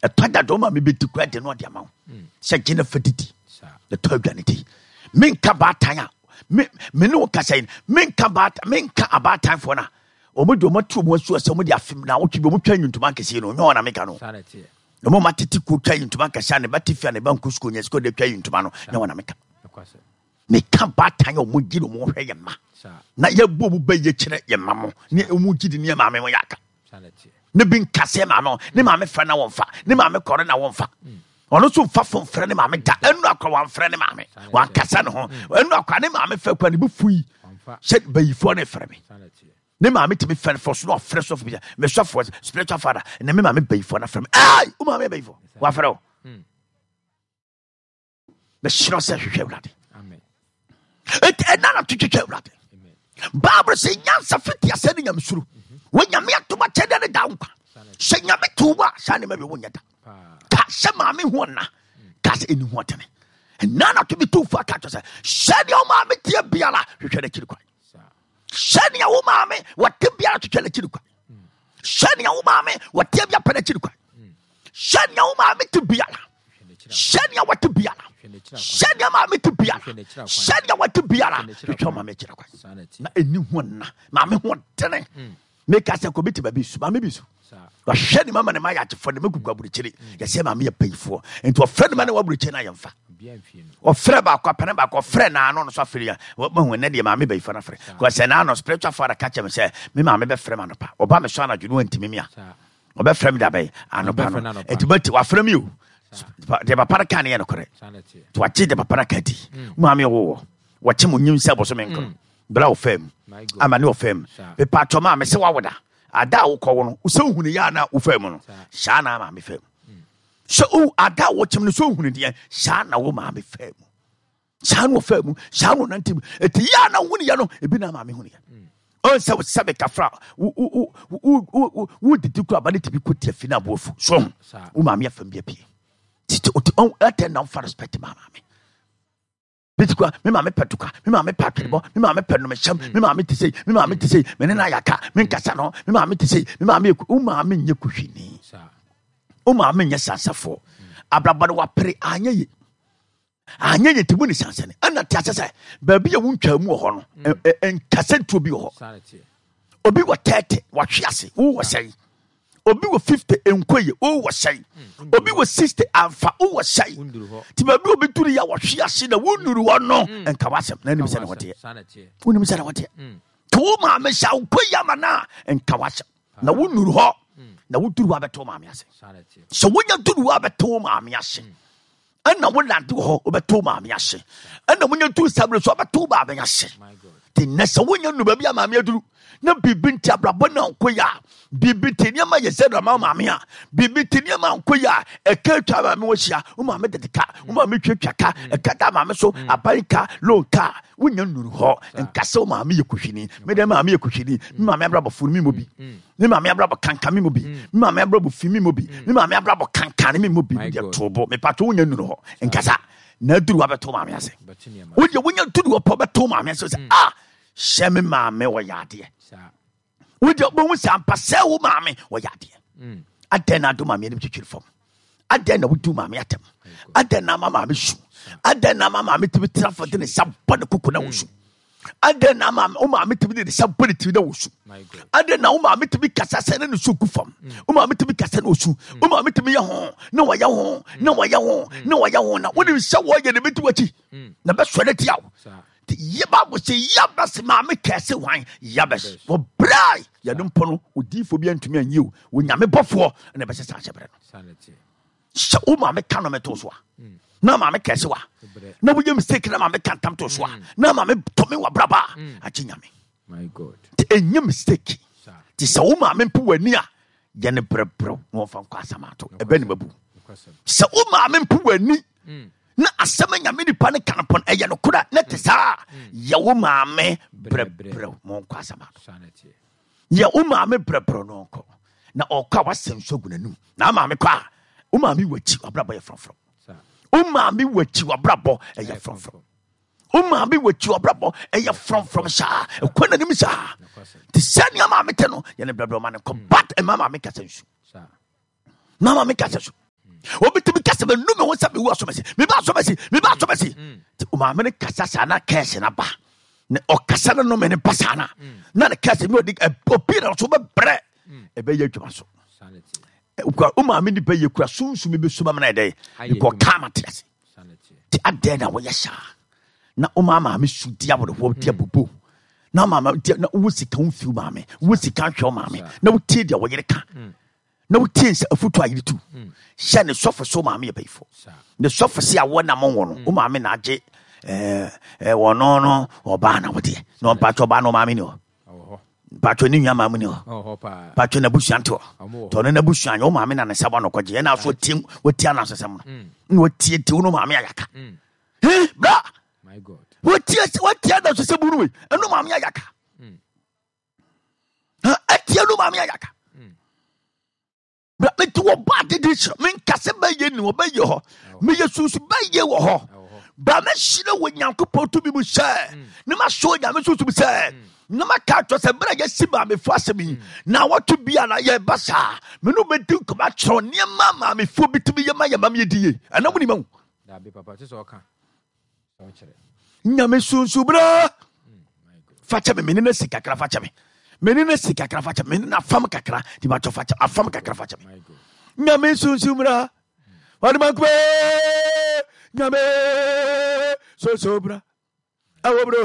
Ɛtɔ da de ɔma mebɛdi kora de no ɔde ama wo hmm. sɛ gye no fa didi ɛtɔ aduane di. Menka baatan a me ne wo kasa yi menka baatan menka abaatanfoɔ no a wɔn de wɔn ato wɔn asu sɛ wɔn de afem na awotwe bi wɔn twa ntoma nkɛseɛ no nyɛ wɔn na meka no na wɔn atete kuo twa ntoma nkɛseɛ a ne ba te fie a ne ba nkɔ sukuu nyɛ sukuu de twa ntoma no nyɛ wɔn na meka. Meka baatan a wɔn gye na wɔn hwɛ yɛn mma na yɛbɔ wɔn bɛ yɛ kyerɛ yɛn mma mo ne wɔn gye di ne yɛn maame mo yɛ aka ne bi nka sɛ maame ho ne maame frɛ na wɔnfa ne maame kɔre na wɔnfa ɔno nso nfa fon frɛ ne maame da ɛnu akora wɔnfrɛ ne maame wankasa ne ho ɛnu akora ne maame fɛ kora ne bi fui sɛ bayifoɔ ne frɛ me ne maame tumi fɛ fɔ so na ɔfrɛ sɔfo bi mɛ sɔfo spiritual father na me maame bayifoɔ na frɛ me ɛɛ wo maame bayifoɔ wafrɛ wo. Mesrɛ sɛ hwehwɛ Awurade. Enti ɛna na twetwetwe Awurade. Bible sɛ nyansa fiti asɛ ne nyamesuro. Wɔ nyame atom akyɛdeɛ ne da nkwa. Sɛ nyame to wo a saa nneɛma bi wonyɛ da. Ka sɛ maame ho ɔna. Ka sɛ ɛni ho ɔtene. Ɛna na to bi to fa ka kyerɛ sɛ sɛdeɛ wo maame teɛ biara hwehwɛ n'akyiri kwan. Sɛnea wo maame wɔte biara twetwe n'akyiri kwan. Sɛnea wo maame wɔte biara pɛ n'akyiri kwan. Sɛnea wo maame te biara sɛnea wɔte biara sɛnea maame te biara sɛnea wɔte biara twetwe maame akyiri kwan. Na ɛni ho nna maame ho dene. Meka sɛ kɔbi te baabi su maame bi su wahwɛ ne mama ne ma yɛ agyefoɔ ne ma gugu aburokyire yɛsɛ maame yɛ payifoɔ nti ɔfrɛ ne ma ne wɔ aburokyire no ayɛmfa ɔfrɛ baako apɛne baako ɔfrɛ naano no so afiri a mahu ɛnɛ deɛ maame bayifoɔ no afrɛ kɔ sɛ naano spiritual father ka kyerɛ me sɛ me maame bɛfrɛ me anɔpa ɔba me so anadwo no wantimi me a ɔbɛfrɛ me dabɛn anɔpa no ɛti bɛti wafrɛ me o deɛ papa no ka ne yɛ nokorɛ nti wagye deɛ papa no ka di maame ɔwowɔ wɔkye mo nyim sɛ bɔsome nkoro bra ɔfam ama ne ɔfam mepatɔ maa me sɛ wawoda ada a wokɔwo no sɛ wohunu yɛ a na wofam no saa na maame fam sɛ o ada a wɔkyem no sɛ wohunu deɛ saa na wo maame fam saa na ɔfam mu saa na ɔnante mu ɛti yɛ a na wohunu yɛ no ebi na maame hunu yɛ ɔn sɛ sɛ mekafra wodidi kora ba ne tumi kɔ tiafi no aboafu so wo maame afam bi apue titi ɔtɛ na wofa respect ma maame. Bɛti kwa, me maame pɛ toka, me maame pɛ atwenebɔ, me maame pɛ nnomehyɛm, me maame te sei, me maame te sei, me ne no ayɛ aka, me nkasa no, me maame te sei, me maame yɛ wo maame nyɛ kuhwini. Wo maame nyɛ sansafoɔ. Abrabɔ no wapere anyɛ ye. Anyɛ ye nti mu ne sansani. Ɛna te ase sɛ baabi a wontwaa mu wɔ hɔ no, nkasa ntuo bi wɔ hɔ. Obi wɔ 30, wahwe ase, wowɔ sɛn? Obi wɔ 50 nkɔ yie, wowɔ sɛn? Hmm. Obi wɔ 60 amfa, wowɔ sɛn? Nti baabi obi duru yɛ wɔhwe ase na wonnuru hɔ no hmm. nka w'asɛm na anim sɛ ne wɔteɛ. Wonim sɛ ne wɔteɛ. Hmm. Nti wo maame sɛ wokɔ yi ama no a nka w'asɛm na wonnuru hɔ na woduru hɔ abɛto wo maame ase. Sɛ wonya duru hɔ abɛto wo maame ase. Ɛna wo nante wɔ hɔ wobɛto wo maame ase. Ɛna wonya duru saa berɛ so wobɛto wo maame ase. Nti nnɛ sɛ wonya nu baabi a maame aduru na biribi nti abrabɔ no ankɔ yi a, biribi nti nneɛma yɛ sɛ ama maame a, biribi nti nneɛma ankɔ yi a, ɛka atwa maame wɔ hyia, wo maame dede ka, wo maame twatwa ka, ɛka da maame so, aban ka, loan ka, wonya nuru hɔ, nka sɛ wo maame yɛ kuhwini, me dɛ maame yɛ kuhwini, me maame abrabɔ funu me mu bi. Me maame abrabɔ kankan me mu bi. Me maame abrabɔ fi me mu bi. Me maame abrabɔ kankan me mu bi. Deɛ to bo. Me pato wonya nuru hɔ. Nkasa. Na aduru wabɛto maame ase. Wodeɛ wonya duru hɔ pɔ bɛto maame ase sɛ ah hyɛ me maame wɔyɛ adeɛ. Wodeɛ wobɛhu sɛ ampa sɛ wo maame wɔyɛ adeɛ. Adɛn na ado maame anim twitwiri fam? Adɛn na wodi maame atɛm? Adɛn na ama maame su? Adɛn na ama maame tumi tena fam de ne nsa bɔ ne koko na wosu? Adɛn na ama wo maame tumi de ne nsa bɔ ne tiri na wosu? Adɛn na wo maame tumi kasa sɛ ne ne su gu fam? Wo maame tumi kasa na osu. Wo maame tumi yɛ ho na wɔyɛ ho na wɔyɛ ho na wɔyɛ ho na wonim sɛ wɔyɛ ne bɛdi w'akyi na bɛsɔre atia wo. Nti yɛ Bible sɛ Yabes maame kɛse hwan? Yabes. Wɔbrɛe yɛde mpo no odiyifoɔ bi antumi anyi o. Onyame bɔfoɔ na ɛbɛsɛ saa hyɛbrɛ no. Sɛ wo maame ka nɔmɛ to so a na maame kɛse wa na woyɛ mistake na maame ka ntam to so a na maame tɔme wɔ abraba a agye nyame. Nti ɛnyɛ mistake. Nti sɛ wo maame mpo w'ani a yɛ ne brɛbrɛw na wɔmfa nkɔ asɛm ato ɛbɛ ne mabu. Sɛ wo maame mpo w'ani na asɛm a nyame nipa no ka no pɔn ɛyɛ nokora na te saa yɛ wo maame brɛbrɛw ma ɔnkɔ asɛm ato. Yɛ wo maame brɛbrɛw na ɔnkɔ na ɔkɔ a wasɛ nsu agu n'anum na maame kɔ a wo maame wɔ akyi wabrabɔ yɛ frɔmfrɔm. Wo maame wɔ akyi wabrabɔ ɛyɛ frɔmfrɔm. Wo maame wɔ akyi wabrabɔ ɛyɛ frɔmfrɔm saa ɛkɔ n'anim saa. Te sɛ nea maame te no yɛ ne brɛbrɛw ma ne nkɔ but ɛma maame kasa nsu. Na maame kasa su. Obitumi kasa mɛ nu mi ho sɛ mi wu asɔmɛsi mi ba asɔmɛsi mi ba asɔmɛsi. Ti maame no kasa saa na kɛse na ba na ɔkasa no nome ne ba saa na na ne kɛse mi ɔdi obi na ɔso bɛbrɛ ɛbɛyɛ adwuma so. Kura o maame ni bɛyɛ kura sunsun mi bɛ suma mi na yɛ dɛ bikɔ kaa ma te ase. Ti adɛn na wɔyɛ saa na o maa maame su di awerɛhoɔ di abubu na maame di na wo sika wo mfiw maame wo sika nhwɛ wo maame na wo tie deɛ wɔyere ka. Na wotie nsɛ afutu a yɛretu mm. hyɛ ne sɔfo so maame yɛ bayifo ne sɔfo se awɔ na mo wɔ no mm. wo maame na agye ɛɛ eh, wɔno no ɔbaa na wodeɛ na ɔmpatwɔ ɔbaa no maame ni hɔ mpatwɔ ne nua maame ni hɔ mpatwɔ n'abusua nte hɔ tɔ ne n'abusua nyɛ wo maame na ne nsa bɔ no kɔgye ɛna so wotie wotie anasesɛm no mm. na wotie te wo no maame ayaka he bra wotie wotie anasesɛm no wei ɛno maame ayaka ɛtie no maame ayaka mete wɔ ba adede hyerɛ menka sɛ bɛyɛ ni wɔbɛyɛ hɔ meyɛ sunsu bɛyɛ wɔ hɔ ba mɛhyerɛ wɔ nyankopɔn tumi mu sɛ mm. ne masɔ onyame sunsum sɛ mm. na maka atɔ sɛ berɛ a yɛasi maamefo asɛm yi mm. na wɔto bi a na yɛba saa me ne wobɛdi nkɔmɔ akyerɛw nneɛma maamefoɔ bi tumi yɛ ma yɛ mam yɛdi ye ɛna mo nima wo Nyame sunsu bra fakyɛ me mene no si kakra fakyɛ me mene no si kakra fakyɛ me mene no afam kakra nti matɔ fakyɛ afam kakra fakyɛ me Nyame sunsu bra wɔde mankube Nyame sunsu bra awo bro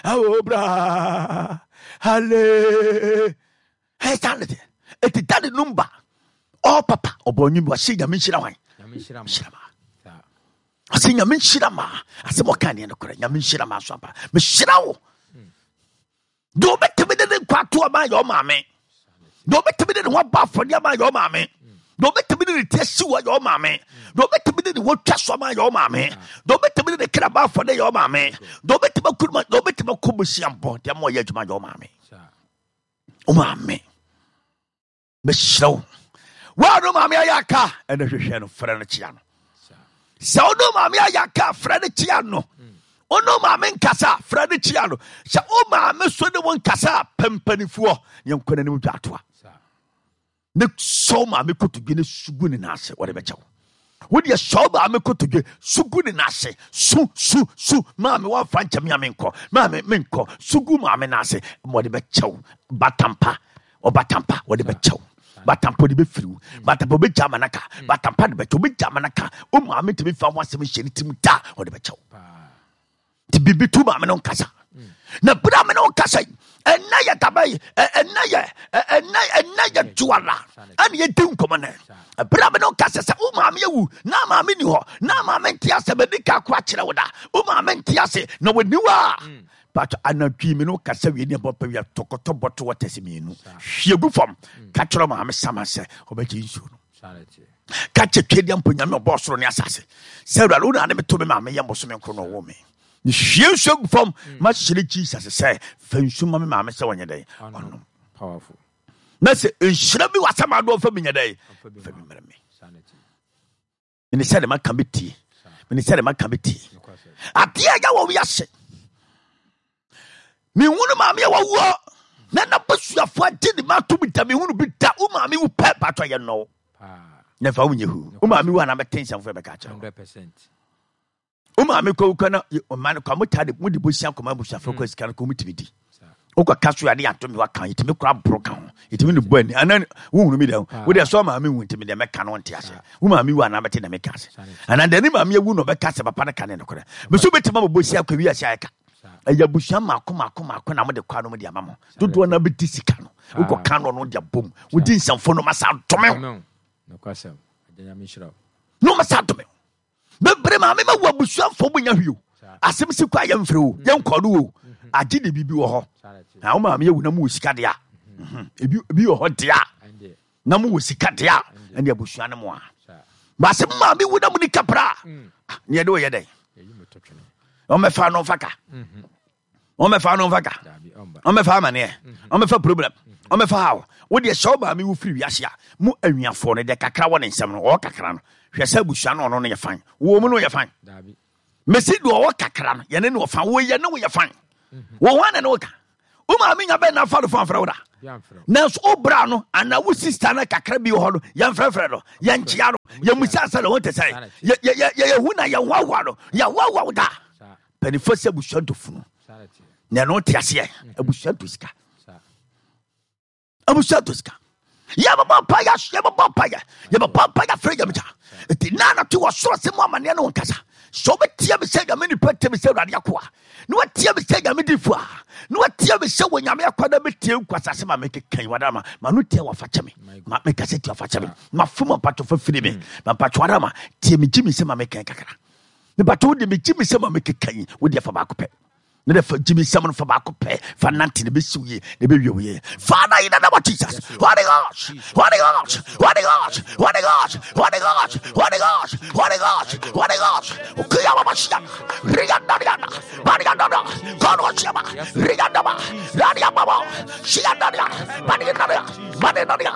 awo bra hale Hey, saa ne deɛ ɛti dade no mba ɔ papa ɔbɔ nwom bi ɔse nyame nhyira hwan nhyira ma ɔse nyame nhyira ma asɛm ɔka neɛ nokorɛ nyame nhyira ma so ampa mehyira wo deɛ wobɛtumi de ne nkwa ato ɔma yɛ ɔmaame deɛ wobɛtumi de ne ho abɔ afɔdeɛ ama yɛ ɔmaame deɛ wobɛtumi de ne ti asi wɔ yɛ ɔmaame deɛ wobɛtumi de ne ho twa so ama yɛ ɔmaame deɛ wobɛtumi de ne kra bɔ afɔdeɛ yɛ ɔmaame deɛ wobɛtumi akuru deɛ wobɛtumi akɔ bosia bɔ deɛ ma ɔyɛ adwuma yɛ ɔmaame wo maame mehyerɛ wo woa no maame ayɛ aka ɛna hwehwɛ no frɛ no kyea no sɛ wo no maame ayɛ aka frɛ no kyea no wo no maame nkasa frɛ no kyea no sɛ wo maame so ne wo nkasa pɛmpanifoɔ yɛnkɔ n'anim dwa atoa Ne sɔw maame kotodwe ne su gu ne nan ase wɔde bɛkyɛ wo wodeɛ sɔw maame kotodwe su gu ne nan ase su su su maame wɔmfa nkyɛ me a menkɔ maame menkɔ su gu maame nan ase ma wɔde bɛkyɛ wo batampa ɔbatampa wɔde bɛkyɛ wo batampa wɔde bɛfiri wo batampa wɔbɛgya ama no aka batampa de bɛkyɛ wɔbɛgya ama no aka wo maame ntumi mfa ho asɛm nhyɛ ne tirim da wɔde bɛkyɛ wo nti biribi tu maame no nkasa na bere a me ne wo kasa yi ɛnɛ yɛ daba yi ɛnɛ yɛ ɛnɛ ɛnɛ yɛ duala ɛne yɛdi nkɔmmɔ nɛ bere a me ne wo kasa sɛ wo maame awu na maame ni hɔ na maame nte ase madi ka ko akyerɛ wo da wo maame nte ase na wɔni hɔ a mm. but anadwo me ne wo kasa wie ne ɛbɔ pɛ wia tɔkɔtɔ bɔto wɔtɛse mmienu hwie gu fam mm. ka kyerɛ maame sama sɛ ɔbɛgye nsuo no ka kyɛ twedeɛ mpo nyame ɔbɔɔ soro ne asase sɛ awurade wo na ne meto me maame yɛ mbosome nkoro na ɔwɔ me mehwie nsuo gu fam mm. mahyerɛ jesus sɛ fa nsu ma me maame sɛ ɔnyɛ dɛn ɔnom na sɛ nhyira bi wɔ asɛm adoɔ fa bi nyɛ dɛn fa bi mmerɛ me mene sɛ de maka bɛtie mene sɛ de maka bɛtie adeɛ a ɛyɛ wɔ wiase mehunu maame a wawuo na n'abusuafoɔ agye ne ma atom da mehunu bi da wo maame wu pɛ patɔ yɛ nnɔw na fa wonyɛ hu wo maame wu a na bɛte nsɛmfo bɛka kyerɛ wo maame kɔ wukɔ na ɔma no kɔ mo taa de mo de bosia kɔma abusuafoɔ kɔ sika no kɔ mo tumi di wokɔ ka so ade ato me waka yɛtumi kora boro ka ho yɛtumi ne bɔ ani ana wohunu mi dɛ wo deɛ sɛ maame wu ntimi deɛ mɛka no nte ase wo maame wu anaa bɛte na meka ase anaa deɛ ne maame awu na ɔbɛka sɛ papa no ka ne nokorɛ meso bɛtumi abɔ bosia kɔ wiase ayɛ ka ɛyɛ abusua mako mako mako na mode kɔ ano mode ama mo dodoɔ no bɛdi sika no wokɔ ka no no de abom wodi nsɛmfo no masa dome wo no masa dome wo bebree maame ma wo abusuafoɔ mu nya hwee o asɛm si kɔ a yɛmfrɛ o yɛnkɔ no o mhm. agye de biribi wɔ hɔ na wo maame awu na mowɔ sika deɛ a mhm. ebi ebi wɔ hɔ deɛ a na mowɔ sika deɛ a ɛne abusua no mu a baasɛ mo maame wu na mo ni kapra a mm. ah, neɛ de wɔyɛ dɛn ɔmɛfa no mfa ka mhm. Wɔmmɛfa no mfa ka, wɔmmɛfa amaneɛ, wɔmmɛfa problem, wɔmmɛfa haw. Wo deɛ sɛ wo maame wu firi wiase a, mo anuafoɔ no deɛ kakra wɔ ne nsam no, ɔwɔ kakra no, hwɛ sɛ abusua no ɔno no yɛ fan. Wɔ mu no yɛ fan. Mesi deɛ ɔwɔ kakra no, yɛne ne wɔ fan. Wo yɛ ne wo yɛ fan. Wɔ hɔ na ne wo ka. Wo maame nya bɛn na afa no fo amfrɛ wo da. Nanso wo bra no anaa wo sista no kakra bi wɔ hɔ no, yɛmfrɛfrɛ no, yɛnkyea no, yɛmmusa sɛ ne ho te sɛn. Yɛhu na yɛhoahoa no, yɛhoahoa wo da. Mpanimfoɔ sɛ abusua ntɔ funu. Na ɛno te aseɛ, abusua ntɔ sika. Abusua ntɔ sika. Yɛbɛbɔ mpaeɛ, yɛbɛbɔ mpaeɛ, yɛbɛbɔ mpaeɛ afrɛ Nyame gya. Nti na anɔte wɔ soro sɛ mu amanneɛ ne wo nkasa. Sɛ wobɛtie me sɛ Nyame nipa tie me sɛ Awurade akoa, na watie me sɛ Nyame difo a, na watie me sɛ wɔ Nyame akoa na bɛtie nkwasase ma mekeka yi wadama ma no tie wafa kyɛ me ma mekasa tie wafa kyɛ me mafom mpatwo fa firi me ma mpatwo adama tie me gye me sɛ ma mekɛn kakra mepatwo wode me gye me sɛ ma mekeka yi wode fa baako pɛ ne de fa gyimi nsɛm no fa baako pɛ fa nante na bɛsi wo yie na bɛwie wo yie. Father, in the name of Jesus, Holy Ghost, Holy Ghost, Holy Ghost, Holy Ghost, Holy Ghost, Holy Ghost, Holy Ghost, Holy Ghost, Kiyama Rianda Rianda, Barianda, Kono Shima, Rianda, Radia Baba, Shianda, Barianda, Barianda,